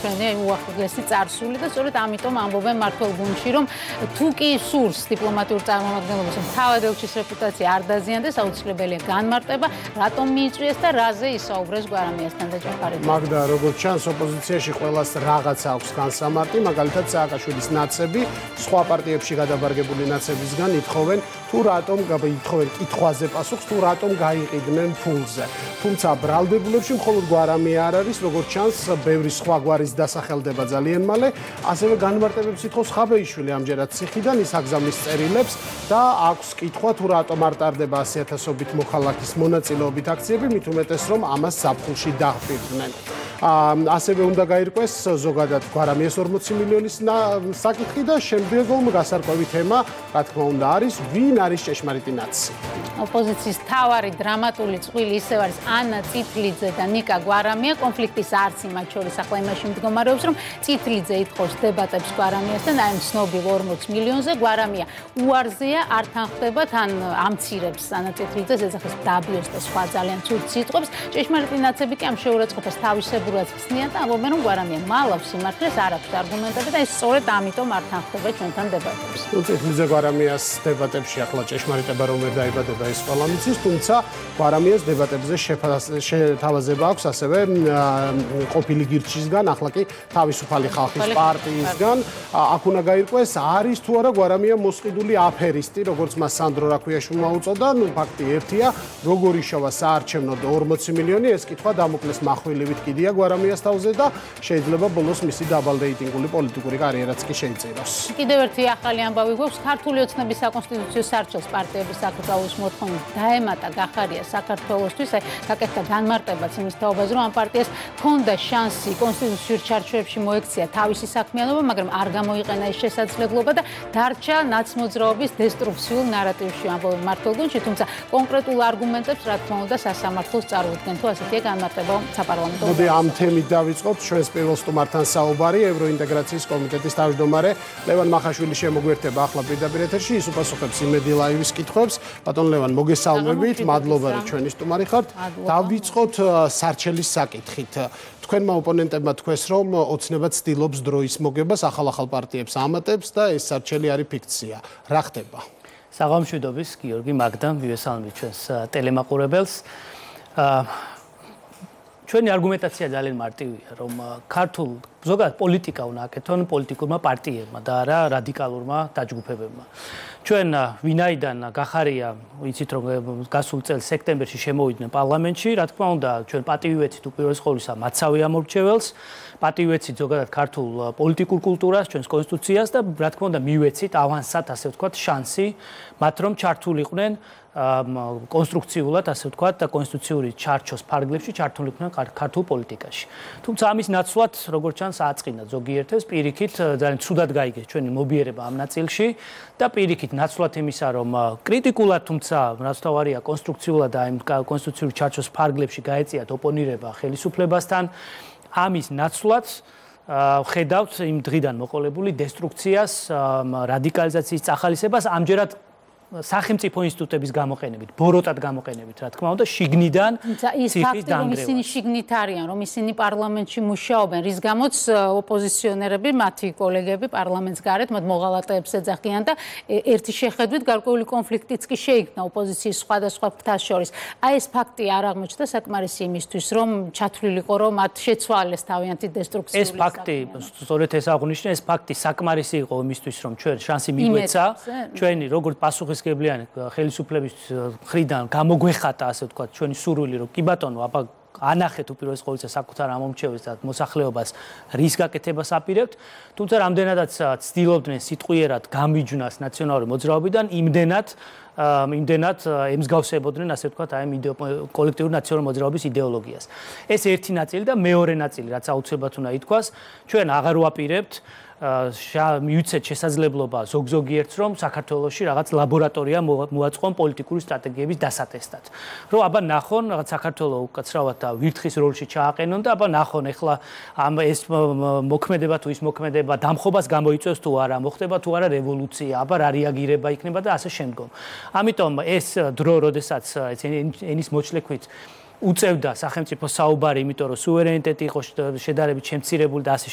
უახლესი წარსული და სწორედ ამიტომ ამბობენ მმართველ გუნდში, რომ თუ კი სურს დიპლომატიურ წარმომადგენლობას, რომ თავად ელჩის რეპუტაცია არ დაზიანდეს, აუცილებელია განმარტება, რატომ მიიწვიეს და რაზე ისაუბრეს გვარამიასთან და ჯაფარიძე. მაგდა, როგორც ჩანს, ოპოზიციაში ყველას რაღაც აქვს განსამარტი, მაგალითად სააკაშვილის ნაცები, სხვა პარტიებში გადაბარგებული ნაცებისგან ითხოვენ, თუ რატომ ითხოვენ კითხვაზე პასუხს, თუ რატომ გაიყიდნენ ფულზე. თუმცა ბრალდებულებში მხოლოდ გვარამია არ არის, როგორც ჩანს, ბევრი სხვა გვარის დასახელდება ძალიან მალე, ასევე განმარტებებს ითხოვს ხაბეიშვილი ამჯერად ციხიდან, ის აგზავნის წერილებს და აქვს კითხვა, თუ რატომ არ ტარდება 100,000-ობით მოხალხის მონაწილეობით აქციები, მით უმეტეს რომ ამას ზაფხულში დაჰპირდნენ. ასევე უნდა გაირკვეს ზოგადად გვარამიას 40 მილიონის საკითხი და შემდგომ გასარკვევი თემა, რა თქმა უნდა, არის ვინ არის ჭეშმარიტი ნაცი. ოპოზიციის მთავარი დრამატული წყვილი ისევ არის ანა წითლიძე და ნიკა გვარამია. კონფლიქტის არცი მათ შორის ახლა იმაში მდგომარეობს, რომ წითლიძე ითხოვს დებატებს გვარამიასთან, აი ცნობილ 40 მილიონზე, გვარამია უარზეა, არ თანხდება, თან ამცირებს ანა წითლიძეს, ეძახის დაბიოს და სხვა ძალიან ცუდ სიტყვებს. ჭეშმარიტი ნაცები კი ამ შეურაცხყოფას თავისებურად ხსნიან და ამბობენ, რომ გვარამია მალავს სიმართლეს, არ აქვს არგუმენტები და ეს სწორედ ამიტომ არ თანხდება ჩვენთან დებატებს. წითლიძე გვარამიას დებატებში ახლა ჭეშმარიტება რომ ვერ დაიბადება ეს ყველა მიცის, თუმცა გვარამიას დებატებზე შეთავაზება აქვს ასევე ყოფილი გირჩისგან, ახლა კი თავისუფალი ხალხის პარტიისგან. აქ უნდა გაირკვეს, არის თუ არა გვარამია მოსყიდული აფერისტი, როგორც მას სანდრო რაქვიაშვილმა უწოდა, ფაქტი ერთია, როგორ იშოვა საარჩევნოდ 40 მილიონი, ეს კითხვა დამოკლეს מחვილივით კიდია გვარამიას თავზე და შეიძლება ბოლოს მისი დაბალრეიტინგული პოლიტიკური კარიერაც კი შეიწიროს. კიდევ ერთი ახალი ამბავი გვაქვს, ქართული ოცნების საკონსტიტუციო სარჩელს პარტიების საკუთრების მოთხოვნით დაემატა გახარია საქართველოსთვის, გაკეთდა განმარტებაც იმის თაობაზე, რომ ამ პარტიას ჰქონდა შანსი კონსტიტუციურ ჩარჩოებში მოექცია თავისი საქმიანობა, მაგრამ არ გამოიყენა ეს შესაძლებლობა და დარჩა ნაცმოძრაობის დესტრუქციულ ნარატივში, ამბობენ მმართველ გუნდში, თუმცა კონკრეტულ არგუმენტებს, რა თქმა უნდა, სასამართლოს წარუდგენ, თუ ასეთია განმარტება საპარლამენტო. მოდი ამ თემით დავიწყოთ ჩვენს პირველ სტუმართან საუბარი, ევროინტეგრაციის კომიტეტის თავმჯდომარე ლევან მახაშვილი შემოგვიერთება ახლა პირდაპირ ეთერში, ის უპასუხებს იმედი ლაივის კითხვებს. ბატონ ლევან, მოგესალმებით, მადლობა რომ ჩვენი სტუმარი ხართ. დავიწყოთ სარჩელის საკითხით. თქვენმა ოპონენტებმა თქვეს, რომ ოცნება ცდილობს დროის მოგებას, ახალ პარტიებს ამატებს და ეს სარჩელი არის ფიქცია. რა ხდება? საღამშვიდობის, გიორგი მაგდა, მივესალმებით ჩვენს ტელემაყურებელს. ჩვენი არგუმენტაცია ძალიან მარტივია, რომ ქართულ ზოგადად პოლიტიკა უნდა აკეთონ პოლიტიკურმა პარტიებმა და არა რადიკალურმა დაჯგუფებებმა. ჩვენ ვინაიდან გახარია, ვიცით რომ გასულ წელს სექტემბერში შემოვიდნენ პარლამენტში, რა თქმა უნდა, ჩვენ პატივი ვეცით უპირველეს ყოვლისა მაცავე ამორჩეველს, პატივი ვეცით ზოგადად ქართულ პოლიტიკურ კულტურას, ჩვენს კონსტიტუციას და რა თქმა უნდა მივეცით ავანსად, ასე ვთქვათ, შანსი მათ რომ ჩართულიყვნენ კონსტრუქციულად, ასე ვთქვათ, და კონსტიტუციური ჩარჩოს ფარგლებში ჩართულიყვნენ ქართულ პოლიტიკაში. თუმცა ამის ნაცვლად, როგორც ჩანს, აწყინა ზოგიერთებს, პირიქით ძალიან ცუდად გაიგეს ჩვენი მობიერება ამ ნაწილში და პირიქით ნაცვლად იმისა, რომ კრიტიკულად, თუმცა რასთავარია კონსტრუქციულად და იმ კონსტიტუციური ჩარჩოს ფარგლებში გაეწიათ ოპონირება ხელისუფლებასთან, ამის ნაცვლად ხედავთ იმ დღიდან მოყოლებული დესტრუქციას, რადიკალიზაციის წახალისებას, ამჯერად სახელმწიფო ინსტიტუტების გამოყენებით, ბოროტად გამოყენებით, რა თქმა უნდა, შიგნიდან ციხის დანგრევას. ისინი შიგნით არიან, რომ ისინი პარლამენტში მუშაობენ, რის გამოც ოპოზიციონერები, მათი კოლეგები პარლამენტს გარეთ, მათ მოღალატეებს ეძახიან და ერთი შეხედვით გარკვეული კონფლიქტიც კი შეიქმნა ოპოზიციის სხვადასხვა ფრთას შორის. აი ეს ფაქტი არ აღმოჩნდა საკმარისი იმისთვის, რომ ჩათვლილიყო, რომ მათ შეცვალეს თავიანთი დესტრუქციული ეს ფაქტი, სწორედ ეს აღნიშნე, ეს ფაქტი საკმარისი იყო იმისთვის, რომ ჩვენ შანსი მიგვეცა, ჩვენი როგორც პასუხისმგებლიანი ხელისუფლების მხრიდან გამოგვეხატა, ასე ვთქვათ, ჩვენი სურვილი, რომ კი ბატონო, აბა ანახეთ უპირველეს ყოვლისა საკუთარ ამომრჩეველს და მოსახლეობას რის გაკეთებას აპირებთ, თუმცა რამდენადაც ცდილობდნენ სიტყვიერად გამიჯვნას ნაციონალური მოძრაობიდან, იმდენად ემსგავსებოდნენ, ასე ვთქვათ, აი კოლექტიური ნაციონალური მოძრაობის იდეოლოგიას. ეს ერთი ნაწილი და მეორე ნაწილი, რაც აუცილებლად უნდა ითქვას, ჩვენ აღარ ვაპირებთ მივიცეთ შესაძლებლობა ზოგ-ზოგიერთს, რომ საქართველოში რაღაც ლაბორატორია მოაწყონ პოლიტიკური სტრატეგიების დასატესტად. რომ აბა ნახონ, რაღაც საქართველოს უკაცრავად და ვირთხის როლში ჩააყენონ და აბა ნახონ, ეხლა ეს მოქმედება თუ ის მოქმედება დამხობას გამოიწვევს თუ არა, მოხდება თუ არა რევოლუცია, აბა რა რეაგირება იქნება და ასე შემდგომ. ამიტომ ეს დრო, როდესაც ენის მოჩლექვით უწევდა სახელმწიფო საუბარი, იმიტომ რომ სუვერენიტეტი იყო შედარებით შემცირებული და ასე